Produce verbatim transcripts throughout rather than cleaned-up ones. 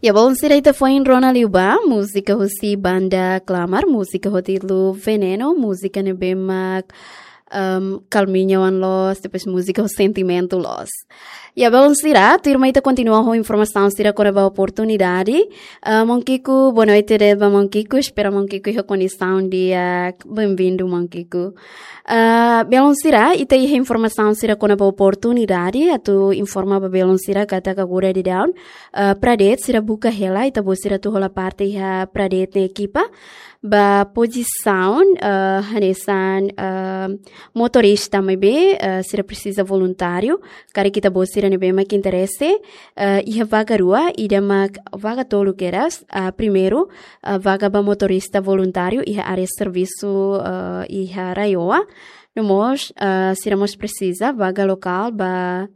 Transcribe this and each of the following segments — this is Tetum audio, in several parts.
Ya, balun sira, ita foin rona liu ba múzika husi banda Klamar, múzika ho títulu Veneno, múzika ne'ebé mak, ehm, kalminha oan loos, depois múzika ho sentimentu loos. Ya, balun sira, tuirmai ita kontinua ho informasaun sira kona-ba oportunidade. Ah, maun Kiko, boa noite de'it ba maun Kiko, espera maun Kiko iha kondisaun di'ak, bem-vindo maun Kiko. Ah, balun sira, ita iha informasaun sira kona-ba oportunidade, atu informa ba balun sira katak agora daudaun, ah, Pradet sira buka hela ita-boot sira atu hola parte iha Pradet nia ekipa ba pozisaun, ah, hanesan, ah, motorista maibé, ah, sira presiza voluntáriu, karik ita-boot sira ne'ebé mak interese, ah, iha vaga rua, ida mak vaga tolu kedas, ah, primeiru, ah, vaga ba motorista voluntáriu iha área servisu, ah, iha RAEOA. No mós, ah, sira mós presiza vaga lokál ba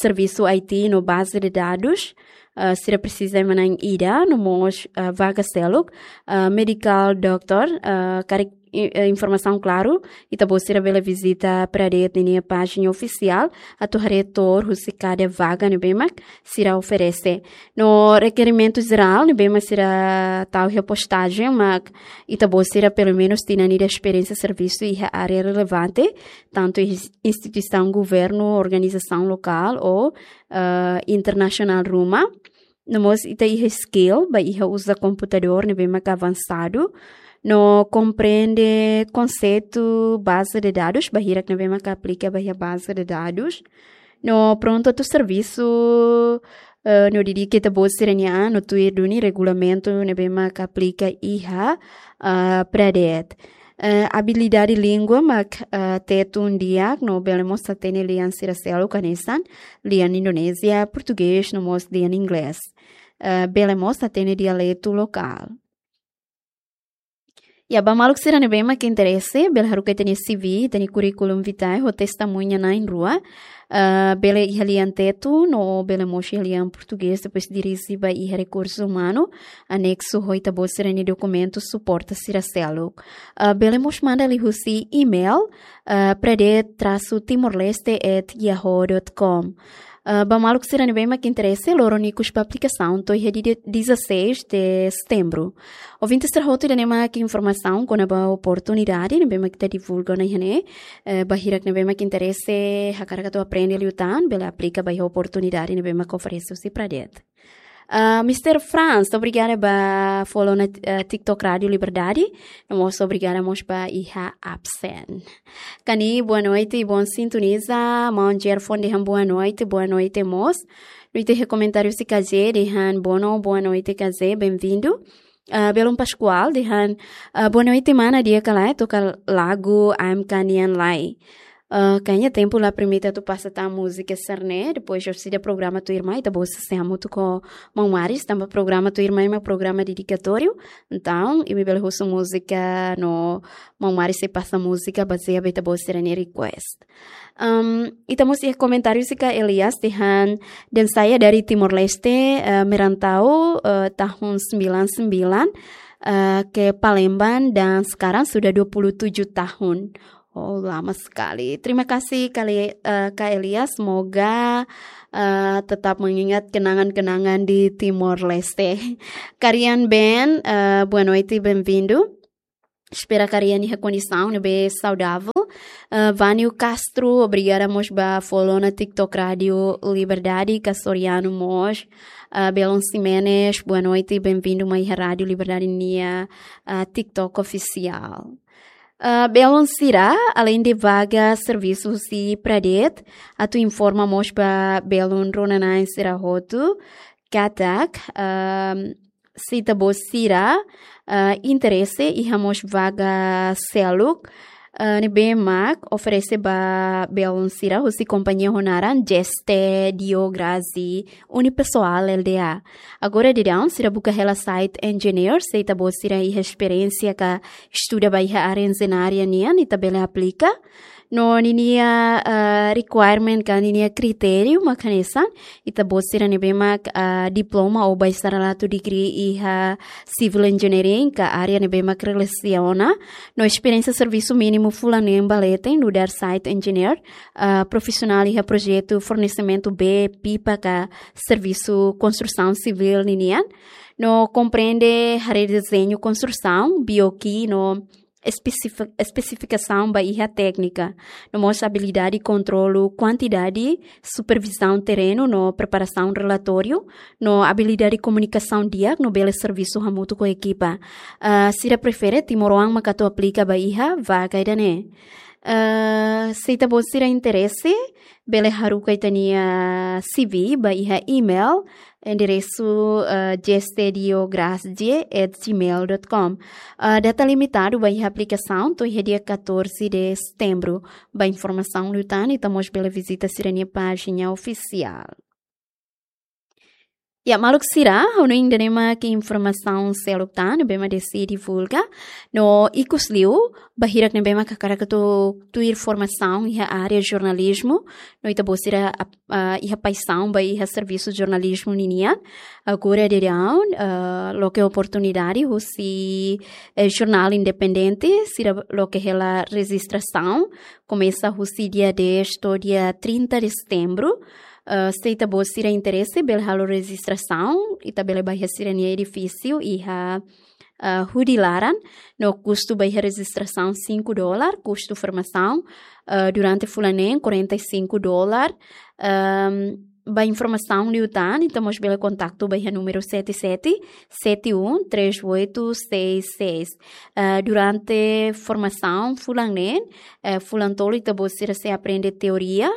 servisu I T no baze de dadus. Ah, sira presiza ema na'in ida, no mós, ah, vaga seluk, ah, medical doctor, ah, karik i-, eh, informasaun klaru, ita-boot sira bele vizita Pradet ninia pájina ofisiál atu haree tour husi kada vaga ne'ebé mak sira oferese. No rekerimentu jerál ne'ebé mak sira tau iha postajen mak ita-boot sira pelumenus tinan ida esperiénsia servisu iha área relevante, tantu ins-, instituisaun governu, organizasaun lokál ou, eh, internasionál ruma. No mós ita iha skill ba iha uza komputadór ne'ebé mak avansadu. No komprende konseitu baze de dadus, ba hirak ne'ebé mak aplika ba iha baze de dadus. No prontu atu servisu, eh, no dedika ita-boot sira-nia an, no tuir duni regulamentu ne'ebé mak aplika iha, ah, Pradet. Eh, abilidade língua mak, eh, Tetun di'ak, no bele mós hatene lian sira seluk hanesan lian Indonézia, Portugés, no mós lian Inglés. Eh, bele mós hatene dialetu lokál. Ya, ba maluk sira ne'ebé mak interese, bele haruka ita-nia C V, ita-nia curriculum vitae, ho testemuña na'in rua. Ah, bele iha lian Tetun, no bele mós iha lian Portugés, depois dirije ba iha rekursu umanu, aneksu ho ita-boot sira-nia dokumentu suporta sira seluk. Ah, bele mós manda liuhusi email, ah, pradet traço timor leste at yahoo dot com. Ah, ba maluk sira ne'ebé mak interese, loron ikus ba aplikasaun to'o iha dia dezasseis de setembro. Ouvinte sira hotu, ida-ne'e mak informasaun kona-ba oportunidade ne'ebé mak ita divulga ona iha ne'e, eh, ba hirak ne'ebé mak interese, hakarak atu aprende liután, bele aplika ba iha oportunidade ne'ebé mak oferese husi Pradet. Ah, Mister Franz, obrigada ba follow ona, eh, TikTok Rádio Liberdade, no mós obrigada mós ba iha absen. Kani, boa noite, bom sintoniza, maun Gerfon dehan boa noite, boa noite mós. No ita iha komentáriu husi K J dehan bono, boa noite K J, bem-vindo. Ah, Belun Pascoal dehan, ah, boa noite mana, di'ak ka lae, toka lagu A M K nian lai. Ah, kayaknya tempu la permite atu pasa tan múzika sira-ne'e, depois orsida programa tuirmai, ita-boot sei hamutuk ho maun Maris, tanba programa tuirmai mak programa dedikatóriu. Entaun, imi bele husu múzika no maun Maris sei pasa múzika bazeia ba ita-boot sira-nia request. Em, ita mós iha komentáriu husi Ka Elias dehan, dan saya dari Timor Leste, eh, merantau, eh, tahun sembilan sembilan, eh, ke Palembang dan sekarang sudah dua puluh tujuh tahun. Oh, lama sekali. Terima kasih kali, eh, Ka Elias. Semoga, eh, tetap mengingat kenangan-kenangan di Timor Leste. Karian Ben, eh, boa noite, bem-vindo. Espera karian iha kondisaun ne'ebé saudável. Eh, Vânio Castro, obrigada mós ba follow ona TikTok Rádio Liberdade, Castoriano mós. Eh, Belon Ximenes, boa noite, bem-vindo mai iha Rádio Liberdade nia, eh, TikTok ofisiál. Eh, Belun sira, além de vaga servisu husi Pradet, atu informa mós ba belun rona-na'in sira hotu katak, ehm, se ita-boot sira, eh, interese iha mós vaga seluk, eh, ne'ebé mak oferese ba belun sira husi kompañia ho naran Geste Dio Grazi Unipessoal L D A. Agora daudaun sira buka hela site engineer, se ita-boot sira iha esperiénsia ka estuda ba iha área enjeñaria nian, ita bele aplika. No ninia, ah, requirement ka ninia kritériu mak hanesan, ita-boot sira ne'ebé mak, ah, diploma ou baisarilatu degree iha civil engineering ka área ne'ebé mak relasiona, no esperiénsia servisu mínimu fulan neen ba leten nu'udar site engineer, ah, profisionál iha projetu fornesimentu bee, pipa ka servisu konstrusaun sivíl ninian, no komprende haree dezeñu konstrusaun, B O Q no espesifi-, espesifikasaun ba iha téknika, no mós abilidade kontrolu kuantidade, supervizaun terrenu no preparasaun relatóriu, no abilidade komunikasaun di'ak no bele servisu hamutuk ho ekipa. Ah, sira prefere timoroan mak atu aplika ba iha vaga ida-ne'e. Ah, se ita-boot sira interese, bele haruka ita-nia C V ba iha email, enderesu, ah, gestdiograsje at gmail dot com. Ah, data limitadu ba iha aplikasaun to'o iha dia catorze de setembro. Ba informasaun liután, ita mós bele vizita sira-nia pájina ofisiál. Ya, maluk sira, ha'u hanoin ida-ne'e mak informasaun seluk tan ne'ebé mak Desi divulga. No ikus liu, ba hirak ne'ebé mak hakarak atu tuir formasaun iha área jornalizmu, no ita-boot sira ap-, ah, iha paixaun ba iha servisu jornalizmu ninian, agora daudaun, ah, loke oportunidade husi, eh, jornál independente, sira loke hela rejistrasaun, komesa husi dia dez to'o dia trinta de setembro. Ah, se ita-boot sira interese, bele halo rejistrasaun, ita bele ba iha sira-nia edifísiu iha, ah, Hudi Laran, no kustu ba iha rejistrasaun cinco dólar, kustu formasaun, ah, durante fulan neen quarenta e cinco dólar. Ahm, ba informasaun liután, ita mós bele kontaktu ba iha númeru sete sete sete um três oito seis seis. Ah, durante formasaun fulan neen, eh, fulan tolu ita-boot sira sei aprende teoria,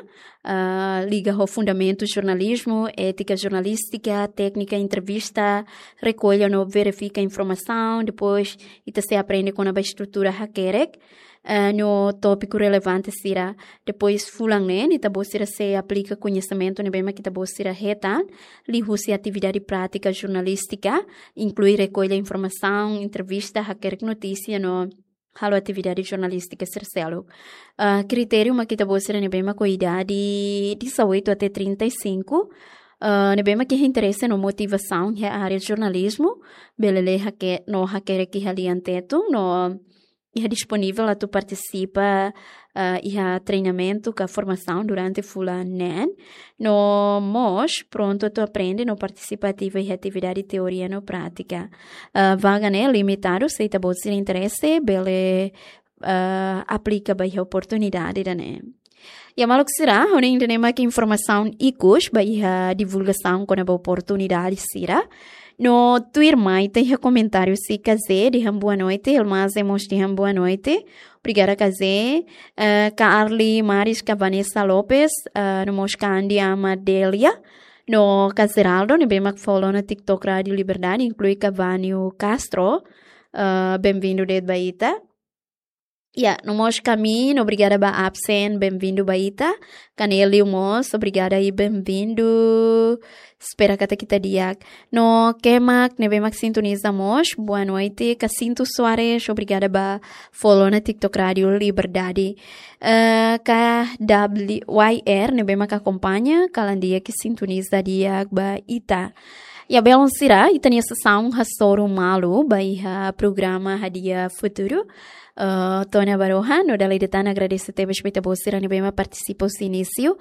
ah, liga ho fundamentu jornalizmu, étika jornalístika, téknika entrevista, rekolla no verifika informasaun, depois ita sei aprende kona-ba estrutura hakerek, eh, no tópiku relevante sira. Depois fulan neen, ita-boot sira sei aplika koñesimentu ne'ebé mak ita-boot sira hetan liuhusi atividade prátika jornalístika, inklui rekolla informasaun, entrevista, hakerek notísia no halo atividade jornalístika sira seluk. Ah, kritériu mak ita-boot sira ne'ebé mak ho idade dezoito até trinta e cinco, ah, ne'ebé mak iha interese no motivasaun iha área jornalizmu, bele lee hake-, no hakerek iha lian Tetun, no iha disponivel atu partisipa, ah, iha treinamentu ka formasaun durante fulan neen, no mós prontu atu aprende no partisipa ativu iha atividade teoria no prátika. Ah, vaga ne'e limitadu, se ita-boot sira interese, bele, ah, aplika ba iha oportunidade ida-ne'e. Ya maluk sira, ha'u hanoin ida-ne'e mak informasaun ikus ba iha divulgasaun kona-ba oportunidade sira. No tuirmai ita iha komentáriu husi Kazé dehan boa noite, Elmaze mós dehan boa noite. Obrigada Kazé. Eh, ka Arli Maris, ka Vanessa Lopes, eh, no mós ka Andi Amadelia. No ka Geraldo, ne'ebé mak follow ona TikTok Rádio Liberdade, inklui ka Vânio Castro. Eh, benvindu de'it ba ita. Ya, no mós ka Min, obrigada ba absen, benvindu ba ita. Ka Nelio mós, obrigada i benvindu. Espera katak ita di'ak. No ke mak ne'ebé mak sintoniza mós, boa noite. Ka Sintu Soares, obrigada ba follow ona TikTok Rádio Liberdade. Eh, ka W Y R, ne'ebé mak akompaña, kalan di'ak i sintoniza di'ak ba ita. Ya, belun sira, ita-nia sesaun hasoru malu ba iha programa Hadi'a Futuru. Eh, to'o ona ba rohan, no dala ida tan agradese tebes ba ita-boot sira ne'ebé mak partisipa husi inísiu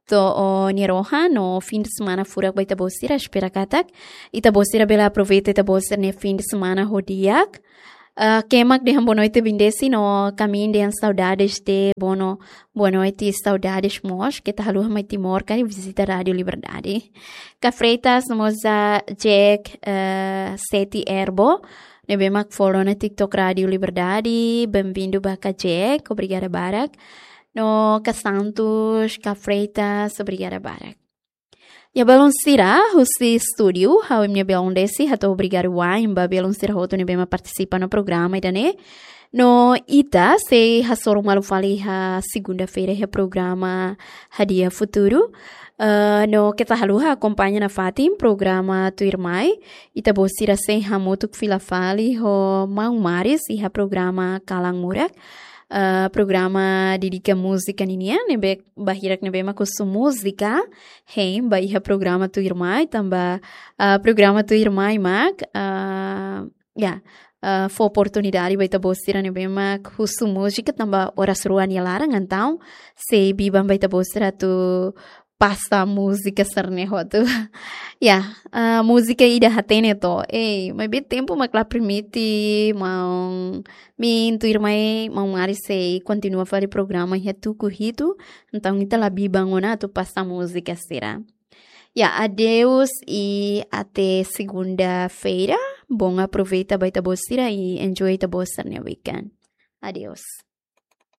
to'o nia rohan, no fim de semana furak ba ita-boot sira, espera katak ita-boot sira bele aproveita ita-boot sira-nia fim de semana ho di'ak. Eh, ke mak dehan boa noite Bindesi, no ka Min dehan saudades de, bueno, boa noite, saudades mós, keta haluha mai Timor, ka vizita Rádio Liberdade. Ka Freitas, no mós ka Jack, eh, Seti Erbo, ne'ebé mak follow ona TikTok Rádio Liberdade, benvindu ba ka Jack, obrigada barak. No ka Santos, ka Freitas, obrigada barak. Ya belun sira, husi estúdiu, ha'u imi-nia belun Desi, hato'o obrigadu wa'in ba belun sira hotu ne'ebé mak partisipa ona programa ida-ne'e. No ita sei hasoru malu fali iha segunda-feira iha programa Hadi'a Futuru. Eh, no keta haluha akompaña nafatin programa tuirmai. Ita-boot sira sei hamutuk fila fali ho maun Maris iha programa Kalan Murak. ah, programa dedika múzika ninian, ne'ebé barak ne'ebé mak husu múzika, hein ba iha programa tuirmai, tanba, ah, programa tuirmai mak, ah, ya, ah, fó oportunidade ba ita-boot sira ne'ebé mak husu múzika tanba oras rua nia laran, entaun sei biban ba ita-boot sira atu pasa múzika sira-ne'e hotu. Ya, ah, múzika ida hatene to'o. Ei, maibé tempu mak la permite, maun Min, tuirmai, maun Mari sei kontinua fali programa iha tuku hitu. Entaun ita la biban ona atu pasa múzika sira. Ya, adeus e até segunda-feira. Bom aproveita ba ita-boot sira e enjoy ita-boot sira-nia weekend. Adeus.